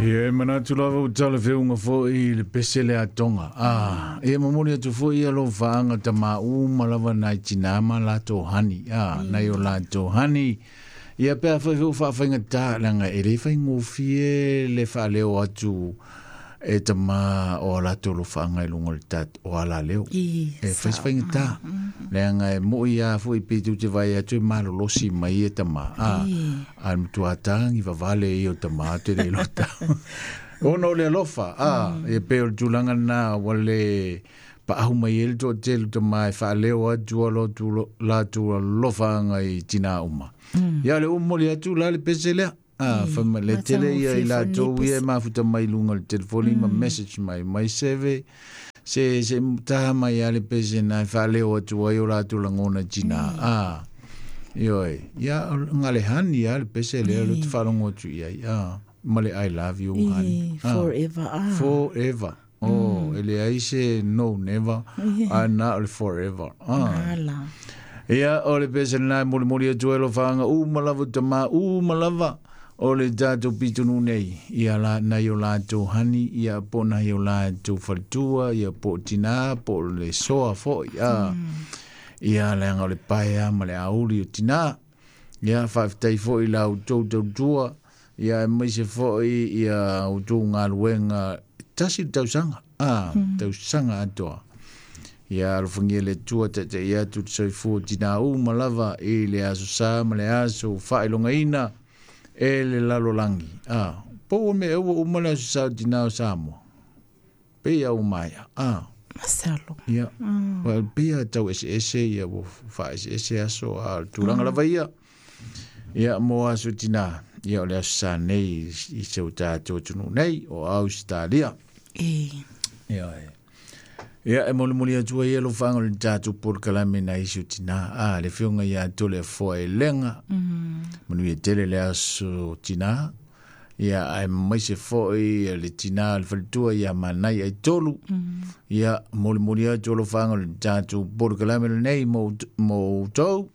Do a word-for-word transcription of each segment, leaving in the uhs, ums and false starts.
Ia e manatu lava o tala feunga foi le pese le atonga. Ah, e momoli atu foi ia lo faanga tama uma lava nai tina ma latou hani. Ah, nai o latou hani. Ia pea foi feu whaawhainga tā langa e le whaingofie le whaaleo atu e tama o latou lo whaanga i lunga le tat o ala leo. I, E sao. whaiswhainga tā. Leanga e mo ia foi pe tu te vai atu e malolosi mai e tama. Ah, a mutua tāngi vavale i o tama te le lota. Ona o le alofa, ah, e pe o le tulaga na wale pa ahu mai e le toatele tama e whaaleo atu a lotu latu alofa anga i tina uma. Ia le umoli atu la le pese lea. Ah, whama le tele ia i latou ia e mafuta mai lunga le telefoni ma message mai mai seve se se taha mai a le pese na e whaaleo atu ai o latou langona tina. Ah, ioi. Ia ngale hani ia le pese lea le te whalongo atu ia. Ah, ma le I love you hani. I, forever. Ah. Forever. Oh, ele ai se no never. A na o le forever. Ah. Ala. Ia o le pese na moli moli atu e lo whaanga u malava tama u malava o le tātou pitunu nei. Ia la nai o latou hani, ia po nai o latou faletua, ia po tina, po le soa foi. Ah. Ia leanga o le paea ma le auli o tina. Ia whaaftai foi la o tau tautua. Ia e maise foi ia o tau ngaluenga. Tasi le tausanga. Ah, tausanga atoa. Ia alofangia le tua te te ia tu te soifua tina u malava i le aso sa ma le aso whaelongaina e le lalolangi. Ah, po me ewa uma le aso sa tina o Samoa. Pe ia umaia. Ah. Masalo. Ia. Well, pe ia tau ese ese ia wo wha ese ese aso a tūranga lava ia. Ia mo aso tina. Ia o le aso sa nei i se o tātou tunu nei o Australia. E. Ia e. Ia e moli moli atua ia lo whango le tātou porokalame na isi o tina. Ah, le whionga ia tole foa e lenga. Manu ia tele le aso tina. Ia ai maise foi le tina le faletua ia manai ai tolu. Ia moli moli atua lo whango le tātou porokalame le nei mo, mo tau.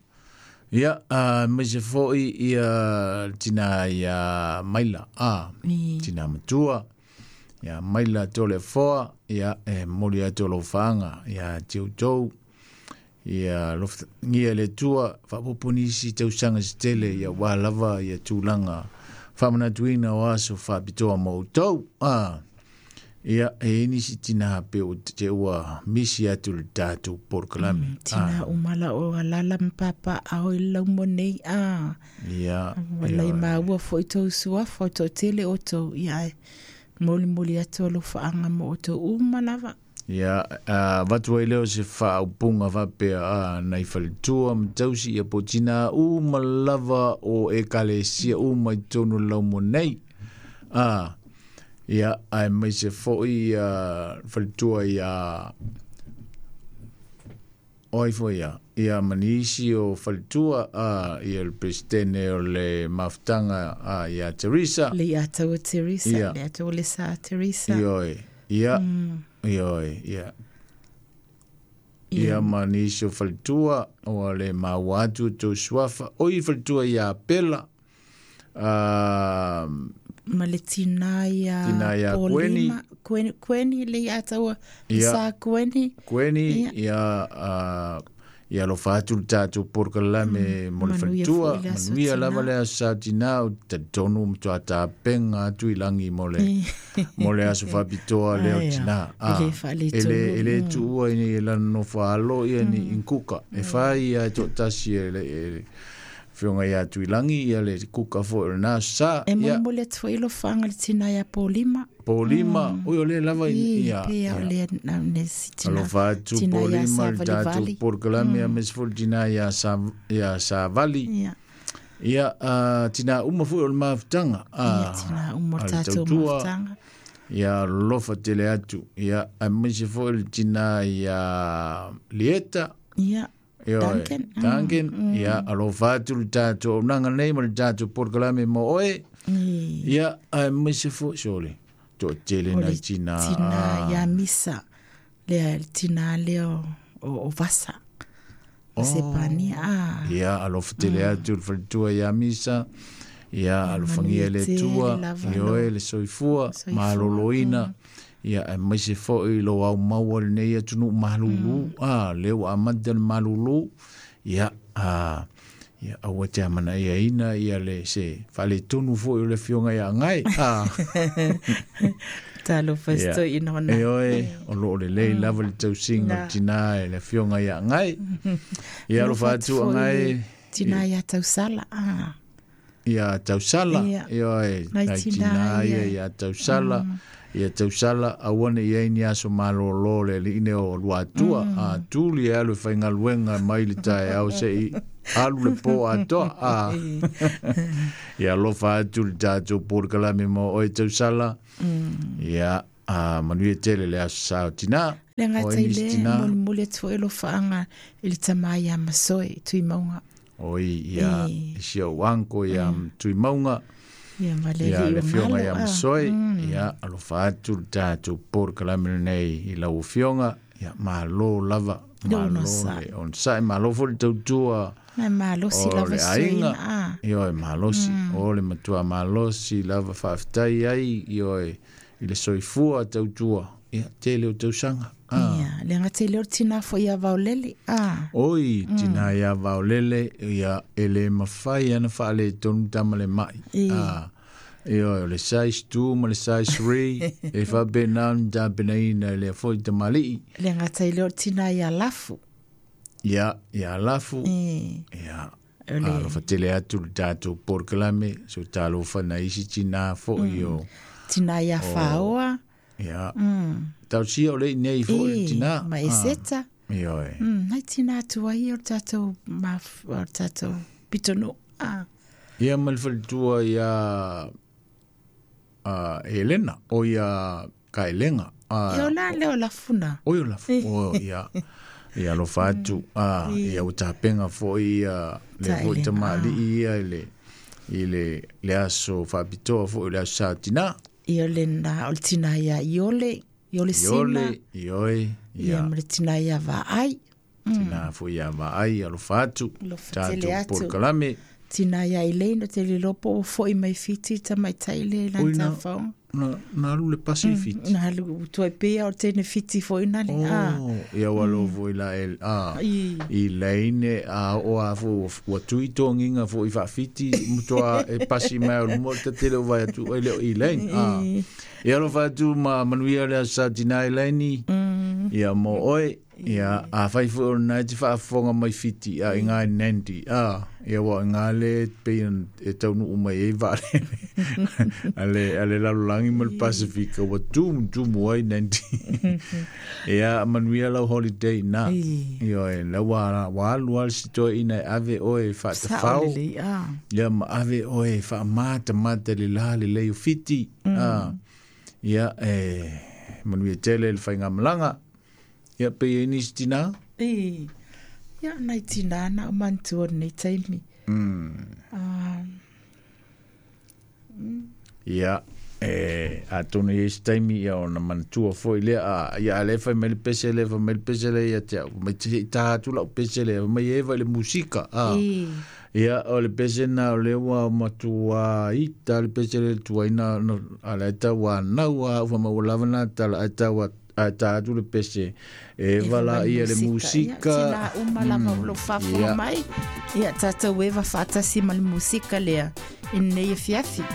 Ia uh, maise foi ia tina ia maila. Ah, I. tina matua. Ia maila tole foa, ia e moli atu lo whaanga, ia tiu tau, ia lof, ngia le tua, whapoponisi tausanga se tele, ia wā lava, ia tūlanga, whamanatuina o aso whapitoa mō tau. Ah, ia e inisi tina pe o te ua misi atu le tātou porokalame. Mm, tina umala o alala mpapa a o i laumo nei. Ah. Ia, Wala i ia, maua foi tau suafa o tau tele o tau. Ia e moli moli atu alofaanga mo o tau uma lava. Ia, uh, watu ai leo se whaaupunga whapea a nai faletua matausi ia po tina uma lava o ekalesia uma i tonu laumo nei. Ah, ia, ai mai se foi uh, faletua ia oi foi ia. Ia manisi o faletua a ia le presidente o le mafutanga a ia Teresa. Le ia tau Teresa, Ia. le ia tau le sa Teresa. Ioi, ia, ioi, ia. Ia manisi o faletua o le mawatu tau suafa. Oi faletua ia Pela. Ah, Ma le tina ia Tina ia Paulina, Kweni, Kweni le ia tau Ia. sa Kweni. Kweni, Ia. ia, uh, ia lo whātu le tātou porokalame mo le Manuia faletua. foi le aso Manuia tina. lava le aso sa tina o tatonu mtua tāpenga atu i langi mo le, mo le aso whapitoa leo Ai, tina. E le whaale E le, e le tonu. tuua i ni lana nofo alo ia ni inkuka. E whai ia e tō tasi e le, e whionga ia atu i langi ia le kuka fo o nā sa. E Ia moli moli atu foi lo whaanga le tina ia Paulima. Paulima, oi o le lava i I, ia. pe ia o le na ne si tina. Alofa atu tina ia Paulima le tātou Savalivali. porokalame a mesfo tina ia sa ia Savali. Ia. Ia uh, tina uma foi o le mafutanga. Ia Ah, tina uma a le tātou tautua. mafutanga. Ia lofa tele atu. Ia a maise foi le tina ia Lieta. Ia. Ia, Duncan. Mm. Duncan. Ia alofa atu le tātou nanga nei ma le tātou porokalame mo oe. I. Ia a maise foi sole. To tele O na le tina. tina ia Misa. Le tina leo o, o Vasa. O Sepania. Ah. Ia alofa tele atu le faletua ia Misa. Ia alofagia e le Atua ioe le soifua malōlōina ia aemaise foʻi lou aumaua lenei atunuu malūlū a lea ua amata le malūlū ia a ia aua te amanaiaina ia le se faaletonu foʻi o le afioga ia agai a talofa ina ona ioe o loo lelei lava le tausiga o le tinā e le afioga ia agai ia alofa atu agai tinā ia tausala a ia tausala ioe nai tinā ia ia tausala ia tausala aua ne i ai ni aso malōlō le aliʻi o Luatua a tuli e alu e faigaluega mai le taeao seʻi alu le pō atoa a ia alofa atu le tatou polokalame mo oe tausala ia a manuia tele le aso sa o tinā le gatai le molimoli atu foʻi alofaaga i le tamā iā masoe Tuimauga oi ia isi ou anko ia Tuimauga ia ma le ia alii le o afioga malo ia a Masoe ia alofa atu le tatou polokalame lenei i lau afioga ia malo lava le malo onosai le onosaʻi malo foi le tautua na malosi o lava le soina aiga a ioe malosi o le matua malosi lava faafetai ai ioe i le soifua tautua ia tele o tausaga a ia le gatai le o le tinā foʻi ia vaolele a oi tinā ia vaolele ia e lē mafai ana faaletonu tama le maʻi e a ioe o le size two ma le size three e faapena ona tapenaina i lea foʻi tamalii le gatai le o le tinā ia lafu ia ia lafu e ia o le alofa tele atu le tatou polokalame so talofa na isi tinā foʻi o tinā ia faoa ia mm tausia o le nei foʻi le e tinā ma a eseta ioe mm nai tinā atu ai o le tatou maf o le tatou pitonuu a ia ma le faletua ia a Elena o ia Kaelega e a o la le o lafuna oi o lafu o ia ia alofa atu a ia ua tapega foʻi ia le foʻi taelega a tamalii ia i le i le le aso faapitoa foʻi le aso sa tinā ia le na o le tinā ia Iole Iole Sina iole ioe ia ia ma le tinā ia Vaai tinā foʻi ia vaai alofa atu alofa tele tatou atu polokalame tinā ia Elaine o te lilopo ua foʻi mai Fiti tamaitai le oi lana na tafaoga na na alu le pasi i Fiti na alu tuai pea o tene Fiti foʻi nale a oh ia ua lovo i la el a i i leine a o a fo ua tui togiga foʻi faafiti matoa e pasi mai o luma o le tatele o vai atu ai le o i leine a i ia alofa atu ma manuia le aso sa tinā i laini mm ia mo oe ia a fai foʻi o lena e te faafofoga mai Fiti a i gā Nandi a ia ua i gā le pei e taunuu mai ai vaalele ale ale lalolagi ma le Pasifika ua tumutumu ai Nandi ia manuia lau holiday na i ioe la ua ua alu a le sitoeʻina e ave oe sao faatafao lelei a ia ma ave oe faamatamata le la lelei o Fiti a ia e manuia tele le faigamalaga ia pe ai nisi tinā i ia nai tinā na o manatua lenei taimi mm. a ia e atonu i ai se taimi ia ona manatua foʻi lea a ia a lē fai mai le pese lea fai mai le pese lea ia te au mai seʻi tā atu lau pese lea mai eva i le musika a i ia o le pese na o lea ua matua ita le pese le tuaina no a le tau anau a ua maua lava na tala ai tau a tā atu le pese e eva eva la mai ia le musika ia musika tinā uma lava o loo faafofoga ia mai ia tatou eva faatasi ma le musika lea i lenei afiafi.